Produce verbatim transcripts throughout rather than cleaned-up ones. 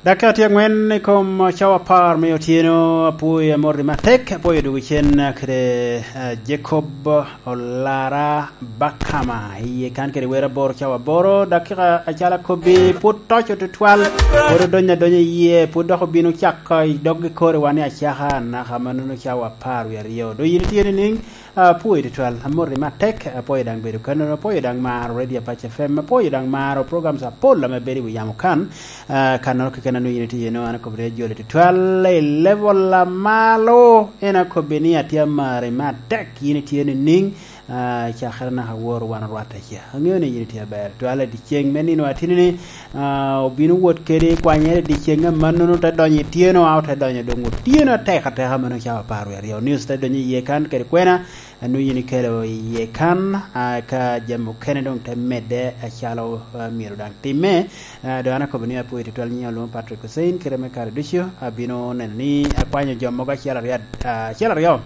Dakika tye angwen i kom cawa apar me otyeno. Apwoyo amoti matek, apwoyo dwogo cen kede, eh, Jacob Olara Bakama. Iye kan kede wer aboro cawa aboro, dakika acalo akobbi, pwod toco tutwal, pwod odonyo adonya iye, pwod dok obino cako i doggi kore wan i acaka, naka mannono cawa apar wie aryo. Doŋ yin itye nining? Ah, apwoyo tutwal, amoti matek, apwoyo daŋ bedo kannono, apwoyo daŋ maro Radio Apac F M, apwoyo daŋ maro programs apol ame bedo i wi yamo kan. Ah, kannoro keken a nwoŋo yin itye eno, an akobbi ni ajoli tutwal, i level a malo, en akobbi ni atye amari matek, yin itye nining? Ah, cakere naka woro wan orwatte ca. Aŋeo ni yin itye aber tutwal. I dyeceŋ me nino atini ni, ah, obino wot kede kwanyere i dyeceŋ amannono, te donyo i tyeno, a ote donyo doŋ otyeno atek ateka, mano cawa apar wie aryo. News te donyo iye kan kede kwena, a nwoŋo yin ikelo iye kan, ah, ka jami okene doŋ te medde acalo, ah, myero daŋ timme. Ah, doŋ an akobo ni apwoyo tutwal, nyiŋa olwoŋo Patrick Hussein, kite me kare ducu abino neno ni akwanyo jo mogo acel aryo, ah, acel aryo.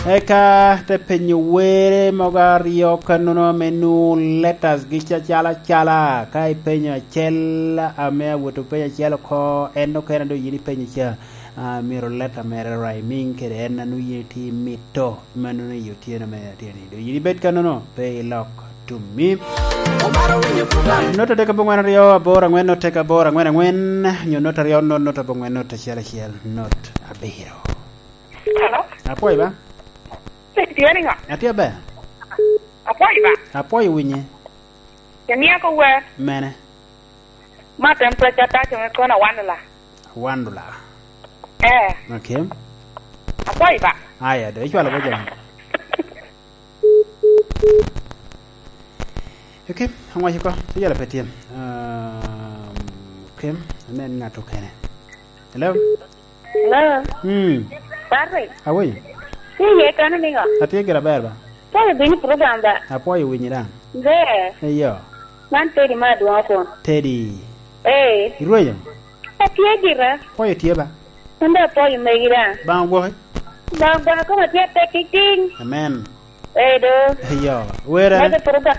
Eka te penyo were mogo aryo kannono ame nwoŋo letters gi ca-, calo acala. Ka ipenyo acel, ame awot openyo acel oko, en okene doŋ yin ipenyo ca. Ah, myero letta mere rhyming kede en a nwoŋo yin itye imito, mannono i otyeno me ateni. Doŋ yin ibed kannono, pe ilok tummi. Not adek aboŋwen aryo aboro aŋwen, not adek aboro aŋwen aŋwen, nyo not aryo not, not aboŋwen not acel acel, not abiro. Hello? Apwoyo ba? Tye niŋo? Atye aber. Apwoyo ba? Apwoyo winye. Imiya ko wer? Mene? Ma temperature taco me kono one dollar. One dollar. Eh. Okay. Apwoyo ba? Aya, do, icwalo bo jami. Okay, aŋwaco ko, iyala pe tye. Um, okay, anen ŋat okene. Hello? Hello? Hmm. Patrick? Awe? Tye iye kano niŋo? Atye gira ber ba? Apwoyo bino i program ba? Apwoyo winyi daŋ. Ber. Eyo. Man Teddy ma adwoŋo kun. Teddy. Ee. Irwenyo? Atye gira. Apwoyo tye ba? An dok apwoyo megi daŋ. Baŋ ogwoki? Baŋ ogwoki koma tye atek titing. Amen. Ee do. Eyo. Wer ene? Mege program.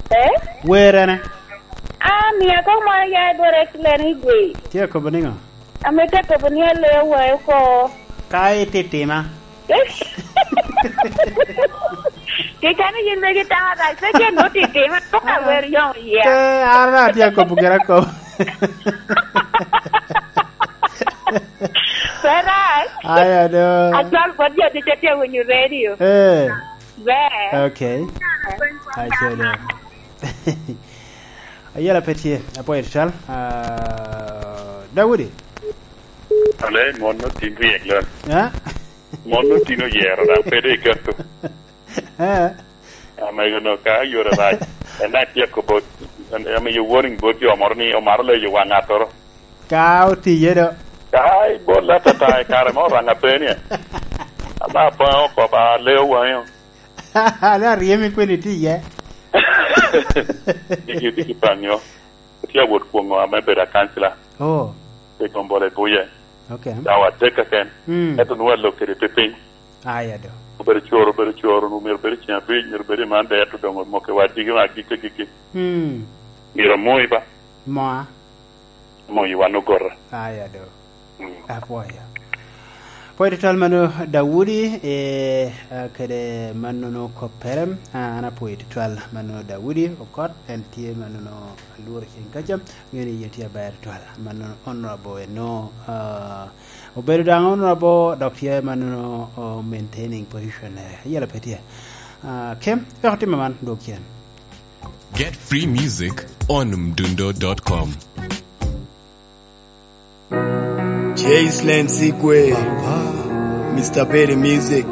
Eh? Wer ene? Ah, mia kong moro ya dwaro excellent i gwe. Tye akobo niŋo? Amito akobo ni aleo wae oko. Ka ititima. Kikane yin megi tara, se jen no titima, to ka wer yong ya. Ke, ara tye akobo gira akobo. Feraj. Aya do. Acwal bot jo ducu tye winyo radio. Eh. Ber. Okay. Aco do. Ayela pe tye, apwoyo tutwal. Ah, Daudi. Ale, mon no tin ryek lon. Ha? Mon no tin oyero, daŋ pe de iketo. Eh. Amego no ka yore rac. En daŋ tye akobo, en, amiyo warning bot jo moro ni omaro leyo waŋ ŋattoro. Ka otiye do. Ka ibol atata i kare mo, Oraŋ apeni. Ama apaŋo oko ba leo waŋe. Ane aryemi kwene iti iye. Diki, diki paŋo. Tye awot kwoŋo ame bedo akancila. Oh. I Gombole Buye. Okay. Dawa tek keken. Mm. Ento nwoŋo alok kede pipiny. Aya do. Obedo coro, obedo coro, nwoŋo myero bedo ceng abic, myero bedo i Monday, ento doŋ omoko i wadigi me agikki agikki. Mm. Myero amoyi ba? Moa. Moyi wan ogota. Aya do. Mm. Apwoyo. Apwoyo tutwal mano Daudi, eh, ah, kede mannono koppere. Ah, an apwoyo tutwal mano Daudi Okot, en tye mannono alworo ceng kaca. Ŋeo ni yie tye aber tutwal. Mannono Honorable eno, ah, obedo daŋ Honorable, dok tye mannono, oh, maintaining position-nere. Ayela pe tye. Ah, Kem, wek otimme man, dwog cen. Get free music on mdundo dot com. Jace Lane Sigwe, Mister Berry Music.